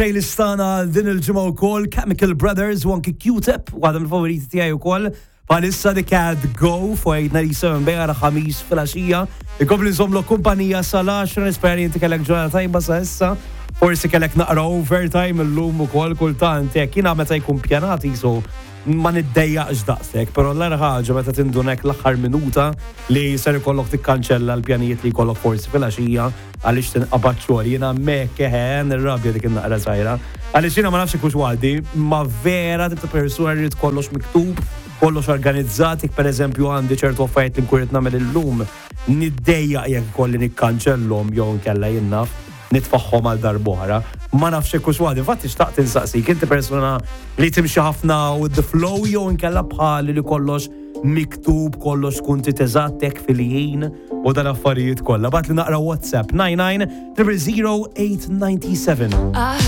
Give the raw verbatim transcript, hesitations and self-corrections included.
Playlist tagħna din il-ġimgħa wkoll Chemical Brothers u anki Q-Tip, waħda mill-favoriti tiegħi wkoll. Palissa The Cat Go fuq eight ninety-seven B R, Ħamis filgħaxija. Ikompli nżommlok kumpanija sal-għaxra, nispera li inti kellek ġurnata tajba sa issa. Forsi kellek naqra overtime illum ukoll. Kultant jekk jiena meta jkun pjanati so ma niddejjaqx daqshekk, però l ħaġa meta tindunek l-aħħar minuta li ser ikollok tikkanċella l-pjanijiet li jkollok forsi filgħaxija għaliex tinqabad xogħol. Jiena hemmhekk eħe nirrabja dik in-naqra żgħira. Għaliex jiena ma nafx ikux għaddi, ma vera tip ta' persuna rrid kollox miktub, kollox organizzat, jekk pereżempju għandi ċertu affarijiet li nkun qed nagħmel illum, niddejjaq jekk ikolli nikkanċellhom jew nkella jinnaf nitfaħħom għal darb'oħra. Ma nafx hekk hux waħdi. Infatti xtaqt insaqsik, inti persuna li timxi ħafna with the flow jew inkella bħali li kollox miktub, kollox tkun titeżattek fil-ħin u dan affarijiet kollha? Ibgħatli naqra WhatsApp nine nine zero zero eight nine seven. I